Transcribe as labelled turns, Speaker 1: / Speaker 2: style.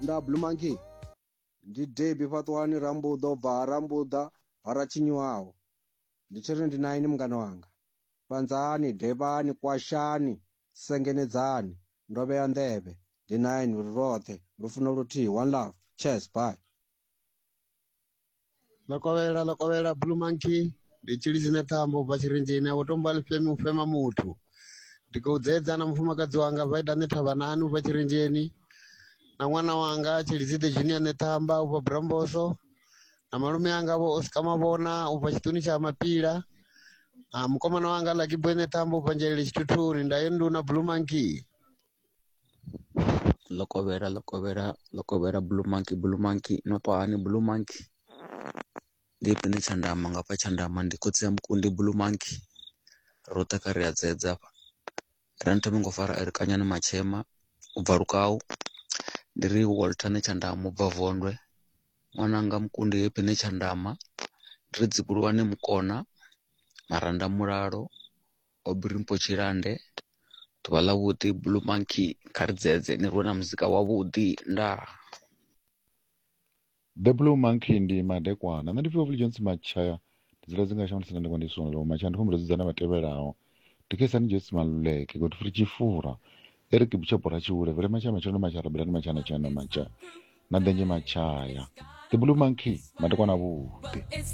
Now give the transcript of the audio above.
Speaker 1: Nda Blue Monkey ndi Debbie Fhaṱuwani Rambuḓa u bva ha Rambuḓa ha Ratshinyuwaho. Ndi tshi ri ndi na ini mungana wanga. Fhanzani, Devhani, Kwashani, Sengenedzani ndo vhea nḓevhe ndi na ini ri roṱhe lufuno luthihi one love cheers bye.
Speaker 2: Ḽokovhela ḽokovhela Blue Monkey ndi tshilidzi thambo ubva tshirenzheni a vho tomba ḽifhemi u fema muthu. Ndi khou dzedza na mufumakadzi wanga Vaida Ṋethavhanani ubva tshirenzheni na ṅwana wanga Tshilidzi the Junior Ṋethamba ubva Bramboso na malume anga vho Oscar Mavhona ubva tshiṱuni tsha Mapila na mukomana wanga Lucky Boy Ṋethamba ubva Nzhelele Tshithuthuni ndayo nduna Blue Monkey.
Speaker 3: Ḽokovhela ḽokovhela ḽokovhela Blue Monkey Blue Monkey no ṱwa hani Blue Monkey ndi pine tshandama ngafha tshandama ndi khotsi ya mukundi Blue Monkey roṱhe kha ri a dzedza hafha ra ni thome ngo fara elekanyani matshema ubva lukau ndi ri Walter Netshandama ubva Vondwe ṅwananga mukundi Happy Netshandama ndi ri dzivhuluwane mukona maranda mulalo Aubrey Mpho Tshilande ḓuvha ḽa vhuḓi Blue Monkey kha ri dzedze ni rwe na muzika wavhuḓi ndaa.
Speaker 4: The Blue Monkey ndi madekwana. Nṋe ndi pfi Fulgence Matshaya ndi dzula dzinga shango ndi sina ndengwa ndi songo Matshaya ndi khou dzudzana vha tevhelaho ndi Khesani Joyce Maluleke Godfrey Tshifura Eric Bishop Ratshiule Vele Matshaya Matshelo Matshaya Rabelani Matshaya na Tshaya na Matshaya na Ḓenzhe Matshaya. The Blue Monkey madekwana avhuḓi.